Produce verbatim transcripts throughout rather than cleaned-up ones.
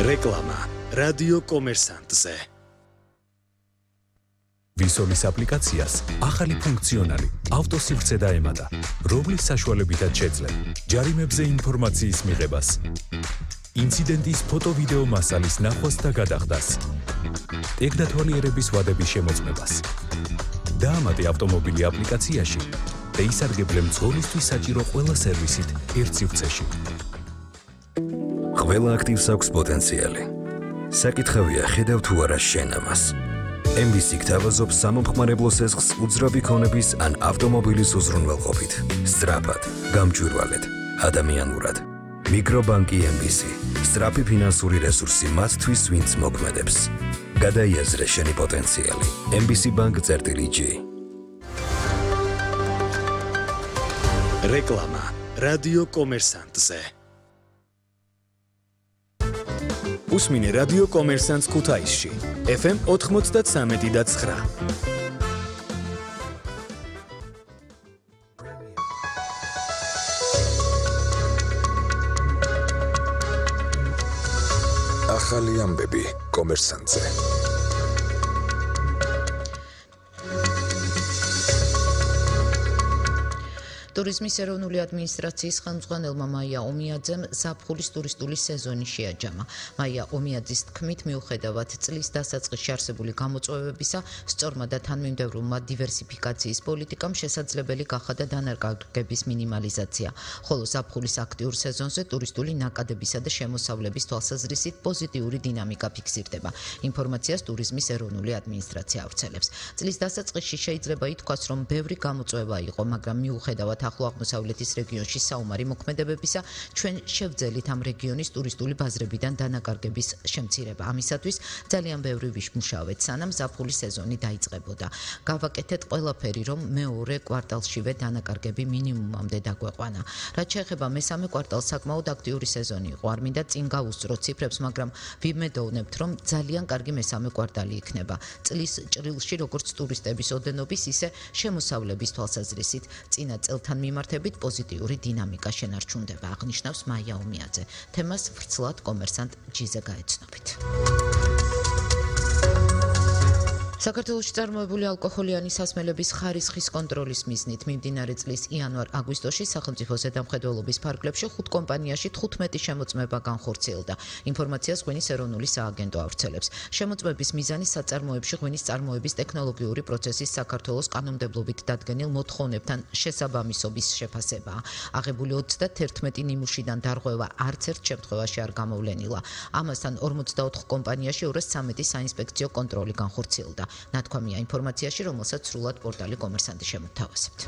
რეკლამა რადიო კომერსანტზე. ვისოლის აპლიკაციას ახალი ფუნქციონალი ავტოსივრცე დაემატა, რომლის საშუალებითაც შეძლებ ჯარიმებზე ინფორმაციის მიღებას, ინციდენტის ფოტო-ვიდეო მასალის ნახვას და გადახდას, ტექნათვალიერების ვადების შემოწმებას. დაამატე ავტომობილი აპლიკაციაში და ისარგებლე მძღოლისთვის საჭირო ყველა სერვისით ერთ სივრცეში. ყველა აქტივს აქვს პოტენციალი. საკითხავია ხედავ თუ არა შენ ამას. ემ ბი სი გთავაზობს სამომხმარებლო სესხს უძრავი ქონების ან ავტომობილის უზრუნველყოფით. სწრაფად, გამჭვირვალედ, ადამიანურად. მიკრობანკი ემ ბი სი. სწრაფი ფინანსური რესურსი მათთვის, ვინც მოქმედებს. გადაიაზრე შენი პოტენციალი. ემ ბი სი ბანკ წერტილი ჯი. რეკლამა რადიო კომერსანტზე. უსმინე რადიო კომერსანტს ქუთაისში. ეფ ემ ოთხმოცდათსამეტი და ცხრა. ახალი ამბები კომერსანტზე. ტურიზმის ეროვნული ადმინისტრაციის ხელმძღვანელმა მაია ომიაძემ ზაფხულის ტურისტული სეზონი შეაჯამა. მაია ომიაძის თქმით, მიუხედავად წლის დასაწყისში არსებული გამოწვევებისა, სწორმა და თანმიმდევრულმა დივერსიფიკაციის პოლიტიკამ შესაძლებელი გახადა დანაკარგების მინიმალიზაცია, ხოლო ზაფხულის აქტიურ სეზონზე ტურისტული ნაკადებისა და შემოსავლების თვალსაზრისით პოზიტიური დინამიკა ფიქსირდება. ინფორმაციას ტურიზმის ეროვნული ადმინისტრაცია ავრცელებს. წლის დასაწყისში შეიძლება ითქვას, რომ ბევრი გამოწვევა იყო, მაგრამ მიუხედავად ახლო აღმოსავლეთის რეგიონში საომარი მოქმედებებისა, ჩვენ შევძელით ამ რეგიონის ტურისტული ბაზრებიდან დანაკარგების შემცირება. ამისათვის ძალიან ბევრი ვიმუშავეთ, სანამ ზაფხულის სეზონი დაიწყებოდა. გავაკეთეთ ყველაფერი, რომ მეორე კვარტალშივე დანაკარგები მინიმუმამდე დაგვეყვანა. რაც შეეხება მესამე კვარტალს, საკმაოდ აქტიური სეზონი იყო. არ მინდა წინ გავუსწრო ციფრებს, მაგრამ ვიმედოვნებთ, რომ ძალიან კარგი მესამე კვარტალი იქნება. წლის ჭრილში როგორც ტურისტების ოდენობის, ისე შემოსავლების თვალსაზრისით წინა წელთან მიმართებით პოზიტიური დინამიკა შენარჩუნდება, აღნიშნავს მაია ომიაძე. თემას ვრცლად კომერსანტ ჯიზე გაეცნობით. საქართველოში წარმოებული ალკოჰოლიანი სასმელების ხარისხის კონტროლის მიზნით მიმდინარე წლის იანვარ-აგვისტოში სახელმწიფო ზედამხედველობის ფარგლებში ხუთ კომპანიაში თხუთმეტი შემოწმება განხორციელდა. ინფორმაციას ღვინის ეროვნული სააგენტო ავრცელებს. შემოწმების მიზანი საწარმოებში ღვინის წარმოების ტექნოლოგიური პროცესის საქართველოს კანონმდებლობით დადგენილ მოთხოვნებთან შესაბამისობის შეფასებაა. აღებული ოცდაათერთმეტი ნიმუშიდან დარღვევა არც ერთ შემთხვევაში არ გამოვლენილა. ამასთან ორმოცდაოთხ კომპანიაში ორას ცამეტი საინსპექციო კონტროლი განხორციელდა. ნათქვამია ინფორმაციაში, რომელსაც სრულად პორტალი კომერსანტი შემოთავაზებთ.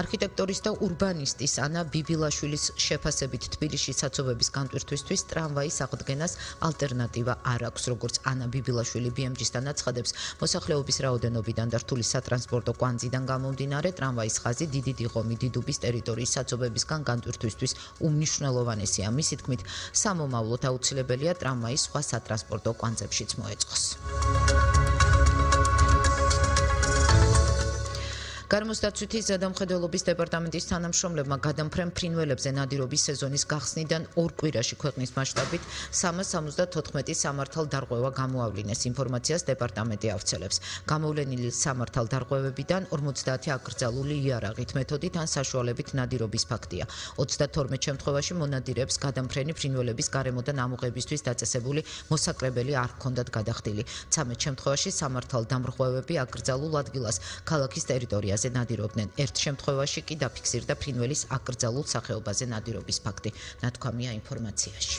არქიტექტორის და ურბანისტის ანა ბიბილაშვილის შეფასებით თბილისში საცობების განტვირთვისთვის ტრამვაის აღდგენას ალტერნატივა არ აქვს, როგორც ანა ბიბილაშვილი ბი ემ ჯი-სთან აცხადებს. მოსახლეობის რაოდენობიდან და რთული სატრანსპორტო კვანძიდან გამომდინარე, ტრამვაის ხაზი დიდი დიღომი დიდუბის ტერიტორიის საცობებისგან განტვირთვისთვის უმნიშვნელოვანესია. მისი თქმით, სამომავლოდ აუცილებელია ტრამვაი სხვა სატრანსპორტო კვანძებშიც მოეწყოს. გარემოსდაცვითი ზედამხედველობის დეპარტამენტის თანამშრომლებმა გადამფრენ ფრინველებზე ნადირობის სეზონის გახსნიდან ორ კვირაში ქვეყნის მასშტაბით სამას სამოცდათოთხმეტი სამართალ დარღვევა გამოავლინეს. ინფორმაციას დეპარტამენტი ავრცელებს. გამოვლენილი სამართალ დარღვევებიდან ორმოცდაათი აკრძალული იარაღით, მეთოდით ან საშუალებით ნადირობის ფაქტია. ოცდათორმეტ შემთხვევაში მონადირეებს გადამფრენი ფრინველების გარემოდან ამოღებისთვის დაწესებული მოსაკრებელი არ ჰქონდათ გადახდილი. ცამეტ შემთხვევაში სამართალ დამრღვევები აკრძალულ ადგილას ქალაქის ტერიტორიაზე ნადირობდნენ. ერთ შემთხვევაში კი დაფიქსირდა ფრინველის აკრძალულ სახეობაზე ნადირობის ფაქტი. ნათქვამია ინფორმაციაში.